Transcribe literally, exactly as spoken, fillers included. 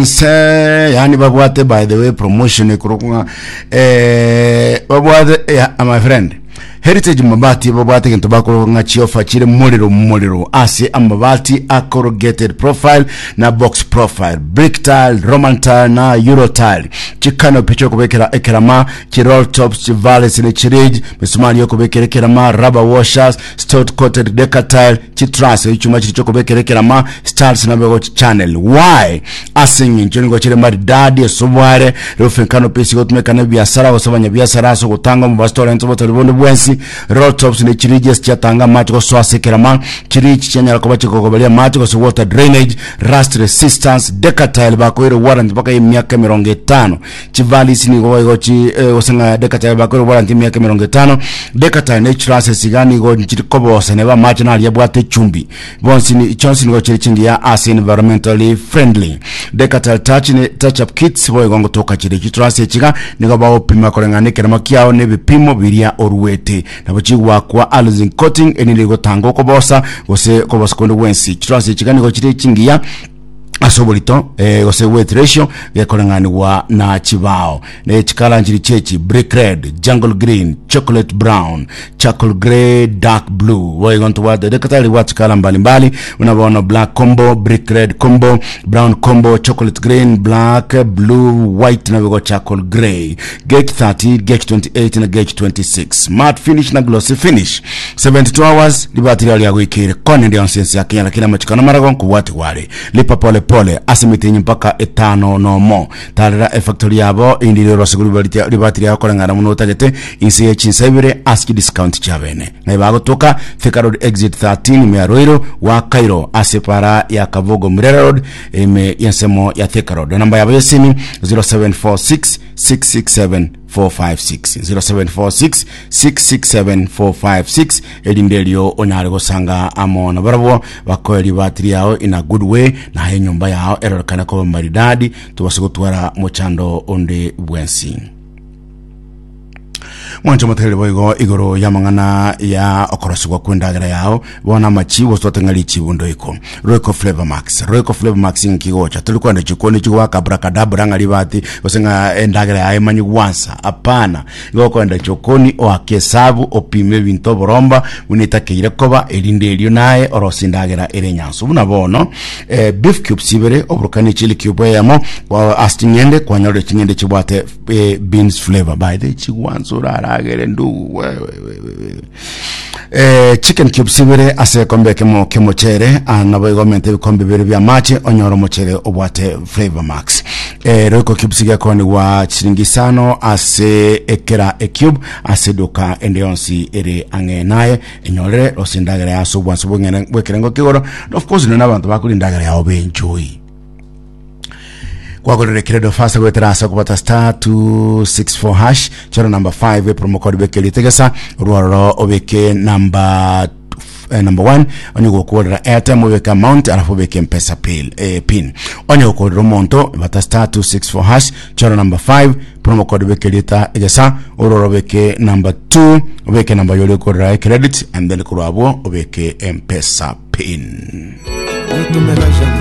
Se yani babwate, by the way, promotion ekorokwa eh babwate, eh, my friend, Heritage Mabati babwate gento bakorokwa ng'a chiofa chire morero morero ase amabati a corrugated profile na box profile, brick tile, Roman tile na Euro tile, chicanopy chokobekera ekerama, chiroll tops, chivalles ne chiridge, misumari yokobekera ekerama, rubber washers, stout coated decatile, chitruss, echuma chiri chokobekera ekerama, stars na bego channel why ase eng'encho nigo chire maridadi esobware roofing canopy sigotumeka na biasara gose abanyabiasara ase ogotanga omobasitorense botori bonde bwensi. Roll tops ne chiridges chiatanga amache gosoa ase ekerama, chiridge chianyara koba chikogoberia amache gose water drainage, rust resistance. Decatile bakoire warranty mpaka emiaka emerongo etano. Chivalis nigo igo chi eh, gose ng'a decatile bakoire warranty emiaka emerongo etano. Decatile ne trusses iga nigo chiri kobosa neba amache naria abwate echumbi bonsi ni chonsi nigo chiri chingiya ase environmentally friendly. Decatile touch ne touch up kits boigo ngotoka chiri. Chitrusses echiga nigo bagopima koreng'ana ekerema kiao na ebipimo biria oruete, nabo chigwakwa alizing coating enire gotanga okobosa gose kobosa konde bwensi. Chitrusses echiga nigo chiri chingiya ase oborito eh, gose weight ratio gekoreng'anigwa na chibao ne chikala nchiri chechi: brick red, jungle green, chocolate brown, charcoal grey, dark blue. Boigo ntobwate dekatari bwa chikala mbalimbali buna bono black combo, brick red combo, brown combo, chocolate green, black, blue, white na bigo charcoal grey, gauge thirty, gauge twenty-eight na gauge twenty-six, matte finish na glossy finish. seventy-two hours libati ria gwikire kone ndio nsensi ya Kenya, lakini amachikano marago nkubwati wale lipa pole pole ase mitinyi mpaka etano nomo. Tarera efactory yabo indi rero siguru libati ria koreng'ana muno otagete inse ya chinsa ibere aski discount chabene na ibagotoka Thika Road exit thirteen ime ya Ruiru wa Cairo ase para ya Kavugo Murera Road ime yensemo ya Thika Road. Namba yabo ya simu zero seven four six six six seven four five six, zero seven four six six six seven four five six. Erinde erio onyare gosanga amo na barabwo bakoe ribatiri yao in a good way na enyomba yao erorekana koba maridadi tubase gotwara mochando onde bwensi. Mwancho motere boigo igoro ya mang'ana ya okorosigwa kwendagera yao bona amachibo twateng'ari chibundo iko Royco Flavor Max. Royco Flavor Max nkigocha tuli kwenda chikoni chigwaka abracadabra ng'ari bati gose ng'a endagera yae manyi gwansa hapana. Igo kwenda chokoni oake esabu opime ebinto oboromba buna etakeire koba erinde erio naye orosi endagera ere nyanso buna bono eh, beef cubes ibere oburukani chili cube eyemo kwa ase ching'ende kwanyore ching'ende chibwate eh, beans flavor by the chigwansa oraragere ndugu wewe wewe. eh, chicken cubes ibere ase ekombe ekemo kemochere nabo igomenta ebikombe bibere bya amache onyora omochere obwate Flavor Max. eh, Royco cubes gekonigwa chiringi isano ase ekera ecube ase eduka ende yonsi ere ang'e naye enyorere ose endagera yase obwanso bweng'ene bw'ekerengo kigoro. Of course none abanto bakori endagera yao benjoy kwagorera credo fast gwetera ase okobata star two six four hash, chora number five, promo code beke ritegesa rwaroro obeke number eh, number one. Onye gokorera airtime obeke amount alafu obeke Mpesa pin, eh, pin. Onye gokorera omonto bata star two six four hash, chora number five, promo code beke rita egesa ororo obeke number two, obeke number yori okorera credit and then korwabwo obeke Mpesa pin. Ne tombera jamais.